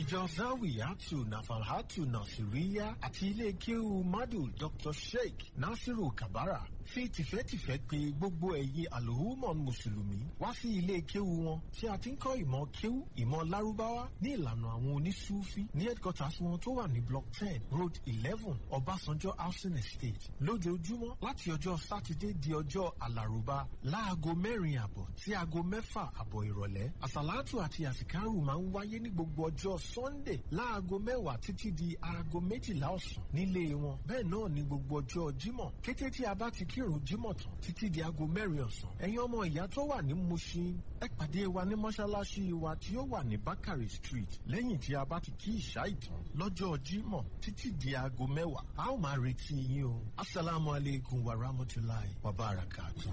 Ìjọ Zawiyatu Nafalhatu Nasiriya àti ilé kéwu Madu Dr. Sheikh Nasiru Kabara fi tìfẹ́tìfẹ́ pè gbogbo ẹ̀yin àlòhùmọ̀n mùsùlùmí wá sí ilé kéwu wọn tí a ti ń kọ́ ìmọ̀ kéwu, ìmọ̀ lárúbáwá ní ìlànà àwọn onísúfí ní headquarters wọn tó wà ní block 10 road 11 Ọbásanjọ́ housing estate lójoojúmọ́ láti ọjọ́ sátidé di ọjọ́ àlàrúbá láago 4:30 sí aago 6:30 ìrọ̀lẹ́. Àsàlátù àti àsìkárù máa ń wáyé ní gbogbo ọjọ́ Sunday láago 10 títí di aago 12 ọ̀sán nílé wọn. Bẹ́ẹ̀ náà ní gbogbo ọjọ́ Jímọ̀ kété tí a bá ti kírun Jímọ̀ tán títí di aago 4 ọ̀sán. Ẹ̀yin ọmọ ìyá tó wà ní Mushin, ẹ pàdé wa ní mọ́ṣáláṣí wa tí ó wà ní Bakari Street lẹ́yìn tí a bá ti kí ìṣá ìtàn lọ́jọ́ Jímọ̀ títí di aago 10. A ó máa retí yín o. Assalamu alaikum wa rahmatulahi wa barakatuh.